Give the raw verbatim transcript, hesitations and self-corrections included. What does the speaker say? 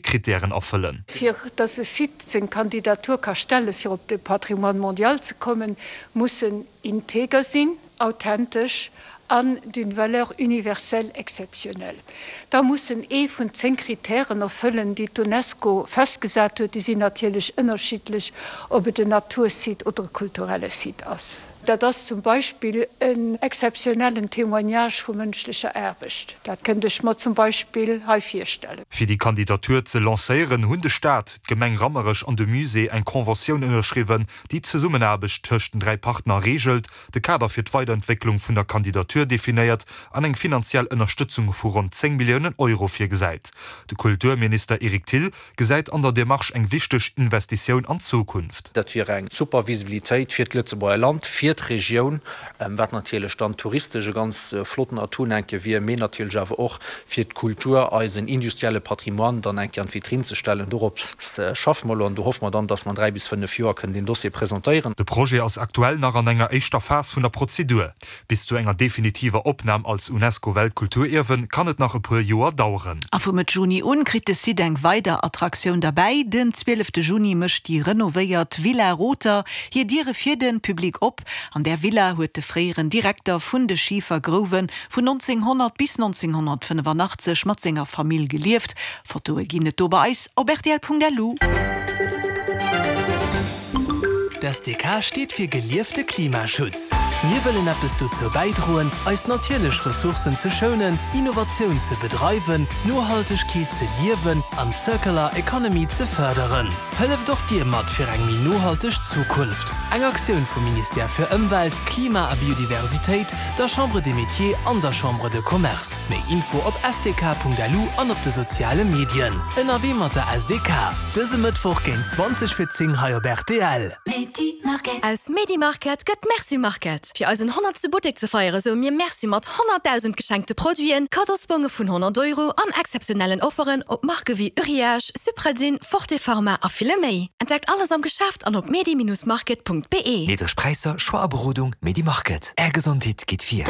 Krittären erfëllen. Fir dass e Site seng Kandidatur ka stelle fir op de Patrimoine mondial ze kommen, muss en integer sinn, authentesch an d'une valeur universelle exceptionnelle. Da muss en ee vun zéng Krittären erfëllen, déi d'UNESCO festgesat huet. Déi sinn natierlech ënnerschiddlech, ob et en Natursite oder e kulturelle Site ass. Dat ass zum Beispill en exzeptionellen Témoignage vu mënschlecher Aarbecht. Dat kënnt ech mer zum Beispill hei virstellen. Fir déi Kandidatur ze lancéieren, hunn de Staat, d'Gemeng Rammerech an de Musée eng Conventioun ënnerschriwwen, déi d'Zesummenaarbecht tëscht den dräi Partner reegelt, de Kader fir d'Weiderentwécklung vun der Kandidatur definéiert an eng finanziell Ënnerstëtzung vu ronn zéng Milliounen Euro virgesäit. De Kulturminister Eric Thill gesäit an der Demarche eng wichteg Investitioun an d'Zukunft. Dat wier eng super Visibilitéit fir d'Lëtzebuerger Land, fir d'Regioun, wat natierlech dann touristesch e ganz flotten Atout eng Kéier wier, mee natierlech awer och fir d'Kultur, eisen industrielle Patrimoine dann eng Kéier an d'Vitrinn ze stellen. Dorop schaffe mer elo an do hoffe mer dann, dass mer an dräi bis fënnef Joer kënnen deen Dossier presentéieren. De Projet ass aktuell nach an enger éischter Phas vun der Prozedur. Bis zu enger definitiver Opnam als UNESCO-Weltkulturierwen kann et nach e puer Joer daueren. A vu Mëtt Juni un kritt de Site eng weider Attraktioun derbäi. Den zwielefte Juni mécht déi renovéiert Villa Rother hir Diere fir de Public op. An där Villa huet de fréieren Direkter vun de Schifergrouwe vun nonzénghonnert bis nonzénghonnertfënnefanachtzeg mat senger Famill gelieft. Fotoe ginn et do bei eis op rtl.lu. D'S D K steet fir geliefte Klimaschutz. Mir wëllen eppes dozou bäidroen, eis natierlech Ressourcen ze schounen, Innovatioun ze bedreiwen, Nohaltegkeet ze liewen an d'Circular Economy ze fërderen. Hëlleft och Dir mat fir eng méi nohalteg Zukunft. Eng Aktioun vum Ministère fir Ëmwelt, Klima a Biodiversitéit, der Chambre des Métiers an der Chambre de Commerce. Méi Info op S D K Punkt L U an op de soziale Medien. Ënnerwee mat der S D K. Dëse Mëttwoch géint zwanzeg fir zéng hei op R T L. Aus Medi Market gëtt Merci Market. Fir eisen honnertste Buttek ze feiere soe mir Merci mat honnertdausend geschenkte Produiten, Kaddosbonge vun honnert Euro an exzeptionellen Offeren op Marke wéi Uriage, Supradyn, Forte Pharma a ville méi. Entdeckt alles am Geschäft an op medi Bindestrich market Punkt be. Niddreg Präisser, Choix a Berodung, Medi Market. Är Gesondheet geet vir.